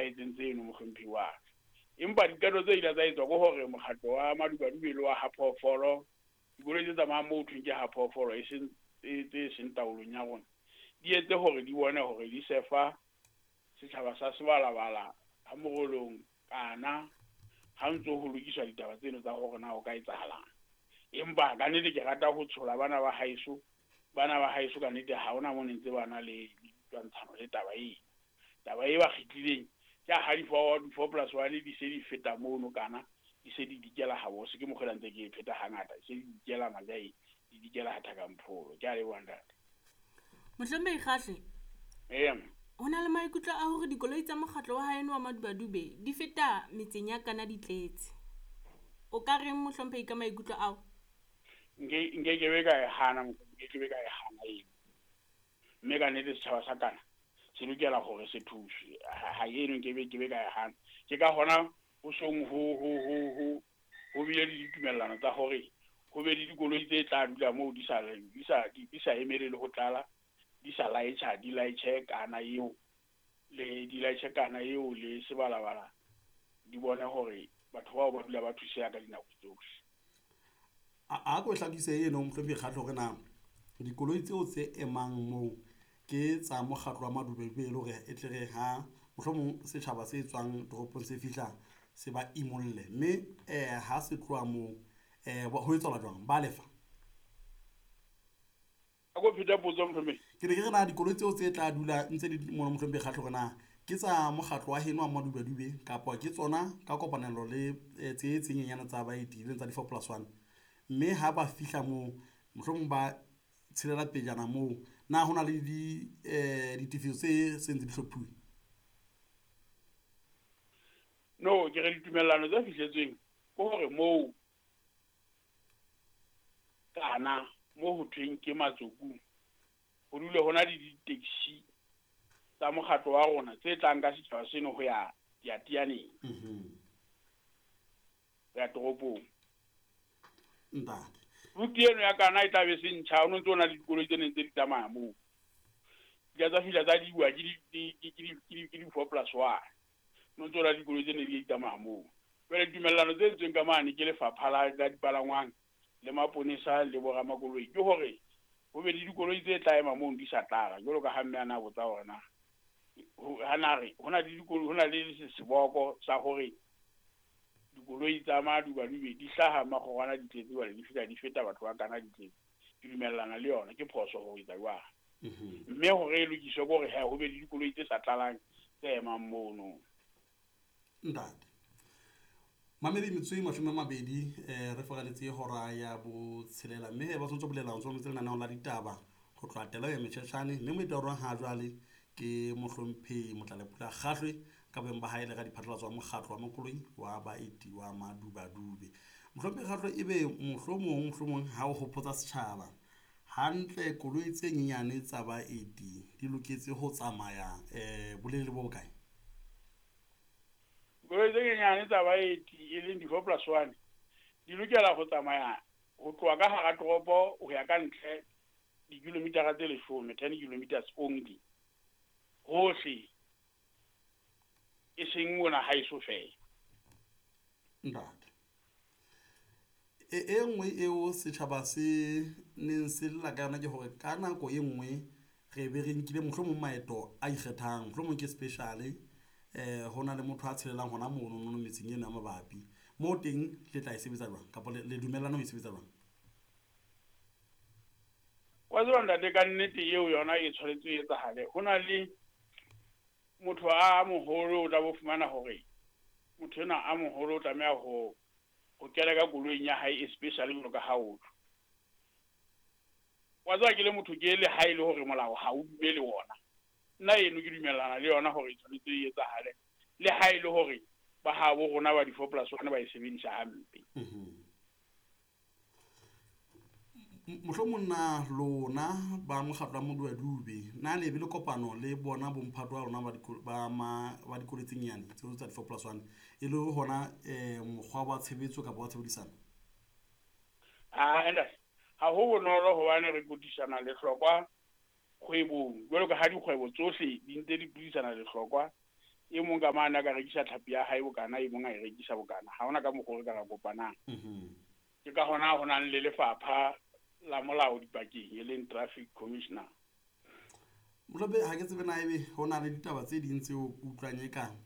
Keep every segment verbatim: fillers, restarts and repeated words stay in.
etsahetseng tseno, mohlomphehi wa ka. Empa diqeto tse ile tsa etswa ke hore mokgatlo wa Madubadube le wa ha Phoofolo, dikoloi tse tsamayang moo ho thweng ke ha Phoofolo, e seng tse seng taolong ya rona, di etse hore di bone hore di sefa setjhaba sa Sebalabala ha Morolong kana ha ntso ho lokiswa ditaba tseno tsa hore na ho ka etsahalang. Empa ka nnete ke rata ho tshola bana ba haeso, bana ba haeso ka nnete ha hona mo ne ntse ba na le ditwantshano le taba eno. Taba e ba kgitlileng ke ha di four, di four plus one di se di feta mono kana di se di dikela habose, ke mokgwa ntse ke e pheta hangata, di se di dikela Majae, di dikela ha Thakampolo. Ke a leboha ntate. Mohlomphehi Kgahle. Ee. Ho na le maikutlo a hore dikoloi tsa mokgatlo wa haeno wa Madubadube di feta metseng ya Kana di tletse. O ka reng mohlomphehi ka maikutlo ao? Nke nke ke be ka e hana, nke ke be ka e hana eo. Mme ka nnete setjhaba sa Kana se lokela hore se thuswe. Ha eno nke be ke be ka e hana. Ke ka hona ho song ho ho ho ho ho bile le ditumellano tsa hore ho be le dikoloi tse tla dula moo di sa di sa di sa emele le ho tlala, di sa laetjha, di laetjhe Kana eo le di laetjhe Kana eo le Sebalabala, di bone hore batho bao ba dula ba thuseha ka dinako tsohle. A a ko hlakise eno mohlomphehi Kgahle hore na dikoloi tseo tse emang moo ke tsa mokgatlo wa Madubadube e le hore e tle re ha mohlomong setjhaba se tswang toropong se fihla se ba imolle, mme eh ha se tloha moo eh ho etsahala jwang, ba lefa? A ko pheta potso mohlomphehi. Ke ne ke re na dikoloi tseo tse tla dula ntse di mono mohlomphehi Kgahle hore na ke tsa mokgatlo wa heno wa Madubadube kapa ke tsona ka kopanelo le tse tse nyenyane tsa baeti leng tsa di four plus one, mme ha ba fihla moo mohlomong ba tshelela pejana moo, na hona le di eh ditefiso tse seng di hlophuwe? No, ke re ditumellano tse fihletsweng ke hore moo Kana mo ho thweng ke Matsokung ho dule hona le di-taxi tsa mokgatlo wa rona tse tlang ka setjhaba seno ho ya Teatianeng, ho ya toropong. Ntate. Route eno ya Kana e tla be se ntjha, ho no ntso ho na le dikoloi tse neng tse di tsamaya moo. Di tsa fihla tsa diwa ke di ke di ke di four plus one. No ntso ho na le dikoloi tse neng di tsamaya moo. Jwale ditumellano tse entsweng ka mane ke lefapha la la dipalangwang le maponesa le boramakoloi ke hore ho be le dikoloi tse tla ema mono di sa tlala, jwalo ka ha mme a na botsa hore na ha na re ho na le dikoloi, ho na le seboko sa hore dikoloi tsa Madubadube di hlaha Makgorwana di tletse, jwale di fihla di feta batho ba Kana di tletse. Ke dumellana le yona, ke phoso ho etsa jwalo. Mme hore e lokiswe ke hore he ho be le dikoloi tse sa tlalang tse emang mono. Ntate. Mamedi metsotso e mashome a mabedi eh re fokaletse hora ya botshelela, mme ba tshwanetse ho bolela ho tswa lenaneong la ditaba ho tloha tela ya Metjhetjhane, mme moeti wa rona ha jwale ke mohlomphehi Motlalepula Kgahlwe ka boemo ba hae le radiphatlalatso wa mokgatlo wa makoloi wa baeti wa Madubadube. Mohlomphehi Kgahlwe, ebe mohlomong mohlomong ha o hopotsa setjhaba hantle, koloi tse nyenyane tsa baeti di loketse ho tsamaya eh bolelele bo bokae? Koloi tse nyenyane tsa baeti e leng di four plus one di lokela ho tsamaya ho tloha ka hara toropo ho ya ka ntle dikilomitara tse leshome, ten kilometers only, hohle, e seng mona haeso feela. Ntate. E e nngwe eo setjhaba se neng se lla ka yona ke hore ka nako e nngwe re be re nkile mohlomong maeto a ikgethang, mohlomong ke special eh ho na le motho a tshelelang hona mono mono metseng eno ya mabapi, moo teng le tla e sebetsa jwang kapa le dumellana ho e sebetsa jwang? Wa tseba ntate, ka nnete eo yona e tshwanetse e etsahale. Ho na le motho a moholo o tla bo fumana hore motho enwa a moholo o tlameha ho ho kena ka koloing ya hae e special jwalo ka ha o tlo. Wa tseba ke le motho ke le ha e le hore molao ha o dumele wona, nna eno ke dumellana le yona hore e tshwanetse e etsahale, le ha e le hore ba habo rona ba di four plus one ba e sebedisa hampe. Mohlomong na lona ba mokgatlo wa Madubadube na le be le kopano le bona bomphato wa lona ba ba ma ba dikoloi tse nyane tseo tsa di four plus one e le hona eh mokgwa wa tshebetso kapa wa tshebedisano? Ah, ntate, ha ho bonolo hobane re kotisana lehlokwa kgwebong, jwalo ka ha dikgwebo tsohle di ntse di buisana lehlokwa E mong ka mane a ka rekisa tlhapi ya hae bokana, e mong a e rekisa bokana. Ha hona ka mokgwa o re ka ra kopanang. Ke ka hona ho nang le lefapha la molao dipakeng, e leng traffic commissioner. Mohlomphehi, ha ke tsebe na ebe ho na le ditaba tse ding tseo utlwang e kang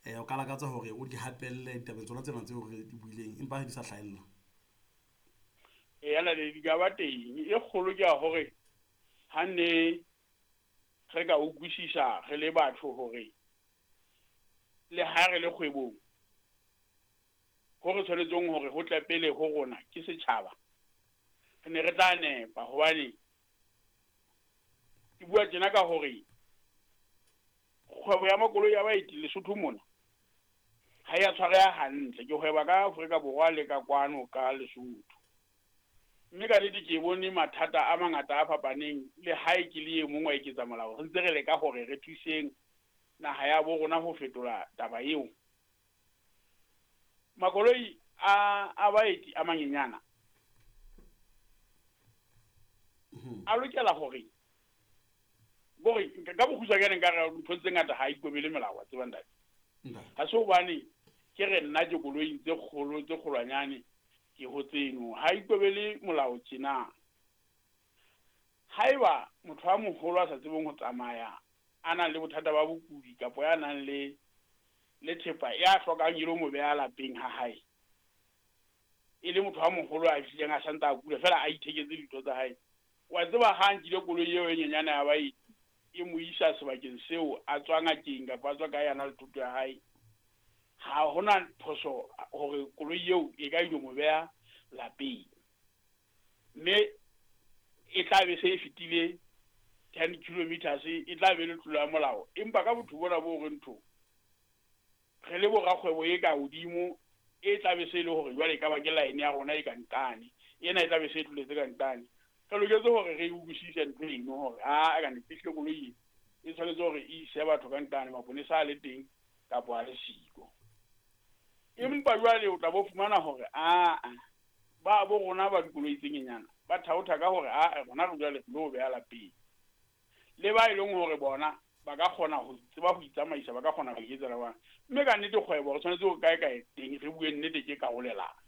um o ka lakatsa hore o di hapelle ditabeng tsona tsena tseo re di buileng, empa ha di sa hlahella. Eya, naledi, di ka ba teng. E kgolo ke ya hore ha ne re ka utlwisisa re le batho hore le ha re le kgwebong, ho re tshwanetseng hore ho tle pele ho rona ke setjhaba, re ne re tla nepa. Hobane ke bua tjena ka hore kgwebo ya makoloi ya baeti Lesotho mona ha ya tshwareha hantle. Ke hweba ka Afrika Borwa le ka kwano ka Lesotho, mme ka nnete ke bone mathata a mangata a fapaneng. Le hae ke le e mong wa eketsa molao, re ntse re leka hore re thuseng naha ya bo rona ho fetola taba eo. Makoloi a a baeti a manyenyana a lokela hore kore ka bokgutshwanyane nka re ntho tse ngata ha ikobele melao, wa tseba ntate. Ha se hobane ke re nna ke koloing tse kgolo tse kgolwanyane ke ho tseno, ha ikobele molao tjena. Haeba motho a moholo a sa tsebeng ho tsamaya, a nang le bothata ba bokudi kapa ya nang le le thepa ya hlokang e lo mo beha lapeng ha hae, e le motho a moholo a fihlileng a santse a kula fela a itheketse dintho tsa hae, wa tseba ha nkile koloi eo e nyenyane ya baeti e mo isa sebakeng seo a tswa ngakeng kapa a tswa kae a na le thuto ya hae, ha hona phoso hore koloi eo e ka ilo mo beha lapeng. Mme e tla be se e fetile ten kilometers, e tla be le tlolo ya molao. Empa ka botho bona bo re ntho re le borakgwebo e ka hodimo, e tla be se e le hore jwale e ka ba ke line ya rona e ka nqane, ena e tla be se e tloletse ka nqane. Re loketse hore re utlwisise ntho eno hore a ka nnete ehlile koloi e tshwanetse hore e ise batho ka nqane, maponesa a le teng kapa a le siko. Empa jwale o tla bo fumana hore aa ba bo rona ba dikoloi tse nyenyana ba thaotha ka hore aa rona re jwale re lo beha lapeng. Le ba e leng hore bona ba ka kgona ho tseba ho itsamaisa, ba ka kgona ho iketsa ba bang. Mme ka nnete kgwebo re tshwanetse ho kae kae teng re bue nnete ke karolelano.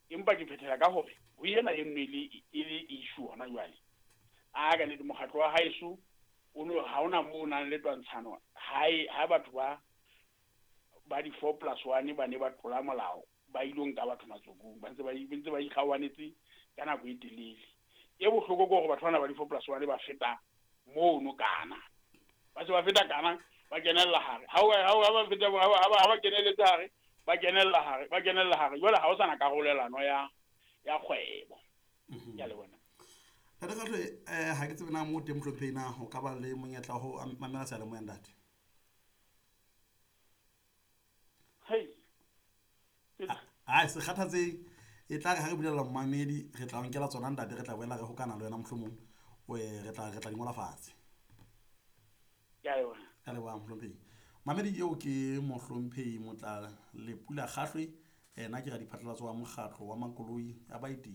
Empa ke phethela ka hore ho ena e nngwe e le e le issue hona jwale. A ka nnete mokgatlo wa haeso o no ha hona moo o nang le twantshano hae ha batho ba ba di four plus one ba ne ba tlola molao ba ilo nka batho matsokong, ba ntse ba ntse ba ikgaoanetse ka nako e telele. E bohloko ke hore batho bana ba di four plus one ba feta mono kana, ba se ba feta kana ba kenella hare. Ha o ha ba feta ha ba keneletse hare, ba kenella hare, ba kenella hare. Jwale ha o sana karolelano ya ya kgwebo. Ke a leboha. Ntate Kgahlwe, eh ha ke tsebe na mo teng mohlomphehi na ho ka ba le monyetla wa ho mamela seyalemoya ntate. Hei. Ai se kgathatse, e tla re ha re bulela mmamedi re tla nkela tsona ntate, re tla boela re hokana le wena mohlomong, re tla re tla di ngola fatshe. Ke a leboha. Ka leboha mohlomphehi. Mamedi eo ke mohlomphehi Motla Lepula Kgahlwe, ena ke radiphatlalatso wa mokgatlo wa makoloi a baeti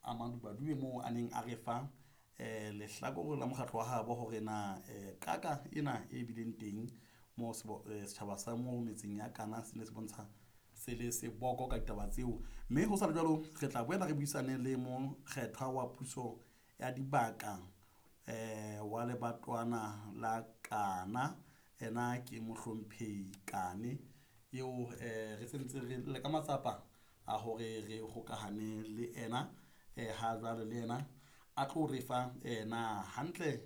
a Madubadube moo a neng a re fa eh lehlakore la mokgatlo wa habo hore na qaka ena e bileng teng mo setjhaba sa mo metseng ya Kana se ne se bontsha se le seboko ka ditaba tseo. Mme ho sa le jwalo re tla boela re buisane le mokgethwa wa puso ya dibaka eh wa lebatwana la Kana, ena ke mohlomphehi Kane eo eh re sentse re le ka matsapa a hore re hokahane le ena eh ha jwale le ena a tlo re fa na hantle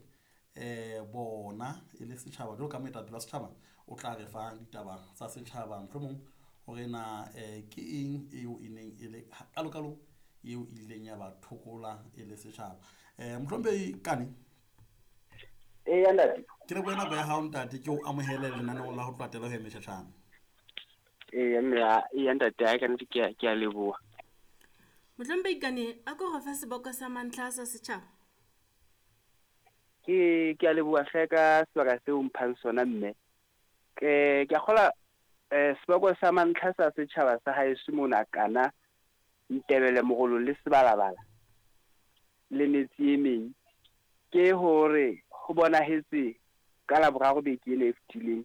eh bona e le setjhaba jwalo ka moetapele wa setjhaba o tla re fa ditaba tsa setjhaba mohlomong hore na eh ke eng eo e neng e le kalokalo eo e ileng ya ba thokola e le setjhaba. Eh mohlomphehi Kane. Eya ntate. Ke lebohe nako ya hao ntate, ke o amohele lenaneong la ho tlatela ho Meshashane. Eya mme, eya ntate, ha ka nnete ke a ke a leboha. Mohlomphehi Kane, a ko re fe seboko sa mantlha sa setjhaba. Ke ke a leboha hle ka sebaka seo mphang sona mme. Ke ke a kgola eh seboko sa mantlha sa setjhaba sa haeso mona Kana, Ntebele, Morolo le Sebalabala le metse e meng, ke hore ho bonahetse ka Laboraro beke ena e fetileng